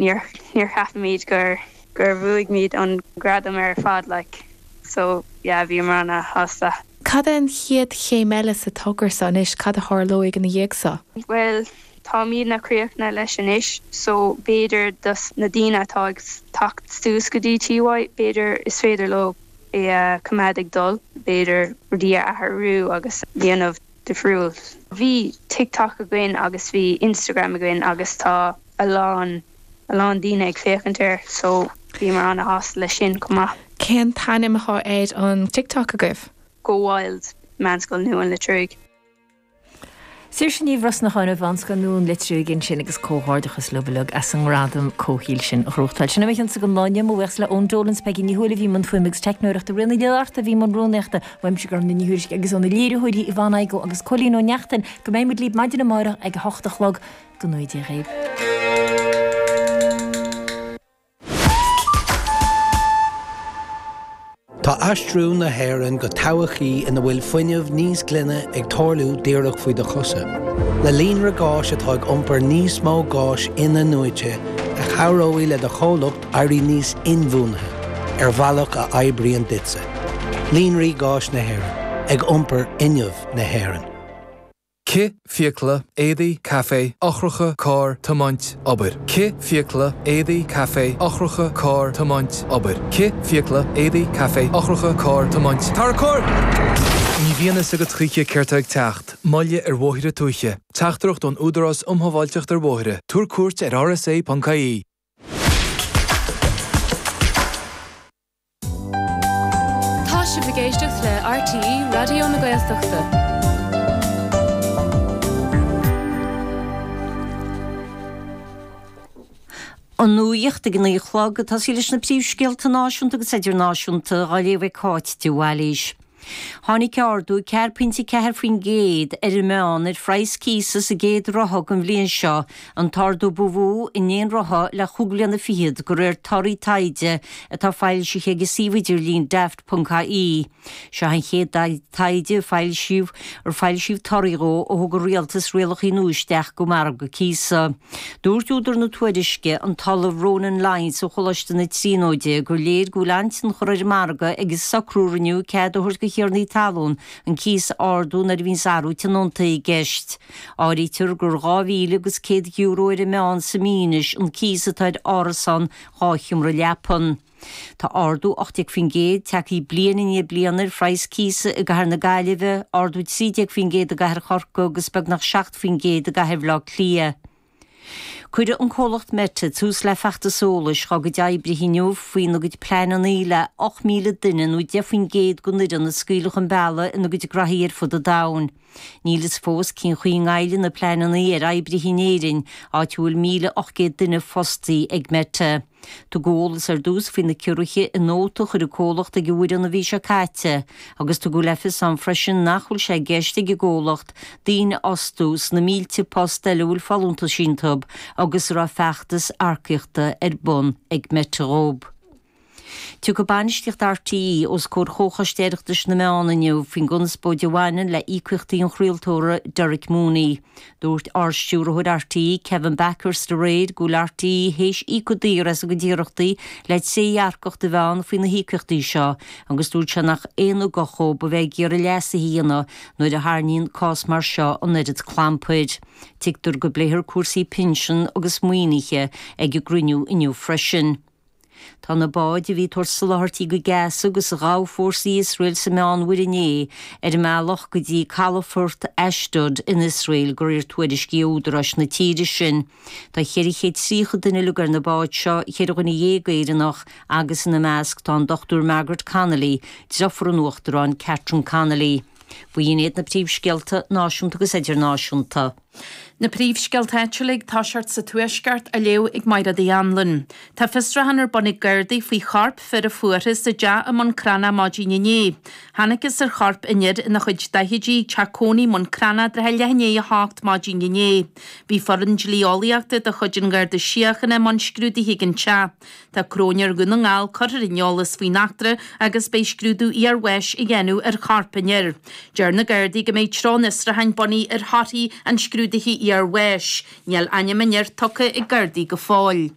Níor níor cheapfaimid gur gur bhuaigh muid an gradam ar fad like so yeah bhíomar ana shásta. Cad é an chéad chéim eile sa togra seo anois, cad a tharlóidh ina dhiaidh seo? Bhuel táimidne críochnaithe leis anois so b'fhéidir dos na daoine atá ag teacht suas go dtí TY b'fhéidir is féidir leo é a choimeád ag dul, b'fhéidir rudaí a athrú agus dhéanamh difriúil. Bhí TikTok againn agus bhí Instagram againn agus tá a lán a lán daoine ag féachaint air so bhíomar ana-shásta leis sin chomh maith. Cén t-ainm atá ar an TikTok agaibh? Go Wild, Meánscoil Nua an Leitriúigh. Saoirse Ní Bhrosnacháin ó Mheánscoil Nua an Leitriúigh ansin agus comhghairdeachas leo uilig as an ngradam comhshaoil sin a ghnóthachtáil. Sin é mo chionsa don lá inniu, mo bhuíochas le Eoin Dolan 's Peigí Ní Thuathail a bhí i mbun fuaime agus teicneoireachta, Ríona Ní Fhlatharta a bhí i mbun rúnaíochta, uaimse Gormfhlaith Ní Thuairisg agus óna léiritheoirí Yvonne Igoe agus Cóilín Ó Neachtain go mbeidh muid libh maidin amárach ag a hocht a chlog. Go ngnóthaí Dia dhaoibh. Tá aistriú na hÉireann go todhchaí ina bhfuil fuinneamh níos glaine ag tarlú díreach faoi do chosa. Le líonra gáis atá ag iompar níos mó gáis in-athnuaite a chabhróidh le do chomhlacht éirí níos inbhuanaithe ar bhealach a oibríonn duitse. Líonraí Gáis na hÉireann, ag iompar fhuinneamh na hÉireann. Cith, fiacla, éadaí, caife, eochracha, carr, tiomáint, obair. Cith, fiacla, éadaí, caife, eochracha, carr, tiomáint, obair. Cith, fiacla, éadaí, caife, eochracha, carr, tiomáint, Tarracóir! Ní bhíonn fhios agat choíche céard tá ag teacht, moille ar bhóithre tuaithe. Teachtaireacht ón Údarás um Shábháilteacht ar Bhóithre. Tabhair cuairt ar rsa.ie. Tá sibh ag éisteacht le RTÉ Raidió na Gaeltachta. An nuacht ag a 9 a chlog, ag tosaí leis na príomhscéalta náisiúnta agus idirnáisiúnta, á léamh ag Cáit de Bhailís. Tháinig ardú 4.4% ar an meán ar phraghas cíosa sa gcéad ráithe den bhliain seo, an t-ardú ba mhó in aon ráithe le chúig bliana fichead, de réir torthaí taighde atá foilsithe ag an suíomh idirlín Daft ponc ie. Seo an chéad taighde a foilsíodh ar foilsíodh torthaí dhó ó thug an rialtas rialacha nua isteach go margadh cíosa. Dúirt údar na tuairisce, an tOllamh Ronan Lyons ó Choláiste na Tríonóide, gur léir go bhfuil an-tionchar ar an margadh ag an socrú a rinneadh cead a thabhairt do thiarnaí talún an cíos a ardú nuair a bhíonns athrú tionóntaí i gceist. Áirítear gur €2,000 agus €100 ar an meán sa mí anois an cíos atá ar árasán dhá sheomra leapan. Tá ardú 18% tagtha bliain i ndiaidh bliana ar phraghas cíosa i gcathair na Gaillimhe, ardú 13% i gcathair Chorcaí agus beagnach 7% i gcathair Bhaile Átha Cliath. Cuirfidh an comhlacht Meta tús le feachtas eolais dhá gcuid oibrithe inniu faoina gcuid pleananna le 8,000 duine nó 10% den fhoireann a scaoileadh chun bealaigh ina gcuid graithí ar fud an domhain. Níl fhios fós cén chaoi a ngoillfidh na pleananna ar oibrithe in Éirinn, áit a bhfuil 1,800 duine fostaí ag Meta. Tugadh eolas ar dtús faoi na ciorruithe i nóta a chuir an comhlacht ag an bhfoireann an mhí seo caite agus tugadh le fios ann freisin nach bhfuil sé i gceist ag an gcomhlacht daoine a fhostú sna mílte post eile a bhfuil folúntais iontu agus a raibh feachtas earcaíochta ar bun ag Meta dhóibh. Tiocfaidh bainistíocht RTÉ os comhair Chomhchoiste Oireachtais na Meán inniu faoin gconspóid a bhaineann le íocaíochtaí an chraoltóra Derek Mooney. Dúirt Ard-Stiúrthóir RTÉ, Kevin Bakhurst aréir go bhfuil RTÉ théis íoc go daor as a gcuid iarrachtaí le trédhearcacht a bheith ann faoi na híocaíochtaí seo agus dúirt sé nach aon ugach dhóibh a bheith ag iarraidh leasuithe a dhéanamh nuair a tharraingíonn cás mar seo an oiread clampair. Tuigtear go bpléifear cúrsaí pinsean agus maoinithe ag an gcruinniú inniu freisin. Tá na báid a bhí ag tabhairt soláthairtí go Gaza agus a ghabh fórsaí Iosrael sa Meánmhuir inné ar a mbealach go dtí calafort Ashdod in Iosrael, de réir tuairiscí ó údaráis na tíre sin. Tá 430 duine uilig ar na báid seo, cheithre dhuine dhéag Éireannach agus ina measc tá an Dr Margaret Connolly, deirfiúr an Uachtaráin Catherine Connolly. B'in iad na príomhscéalta náisiúnta agus idirnáisiúnta. Na príomhscéalta áitiúla ag toiseacht sa Tuaisceart á léamh ag Mairéad Uí Anluain. Tá fiosrúchán ar bun ag Gardaí faoi chorp fir a fuarthas i dteach i mBun Cranncha maidin inné. Thángthas ar chorp an fhir ina chuid daichidí ag teach cónaí i mBun Cranncha i dtrátha leath i ndiaidh a hocht maidin inné. Bhí foireann dlí-eolaíochta de chuid an Gharda Síochána i mbun scrúdaithe ag an teach. Tá Cróinéir Dhún na nGall curtha ar an eolas faoin eachtra agus beidh scrúdú iarbháis á dhéanamh ar chorp an fhir. Deir na Gardaí go mbeidh treo an fhiosrúcháin bunaithe ar thorthaí an scrúdaithe iarbháis. Níl ainm an fhir tugtha ag Gardaí go fóill.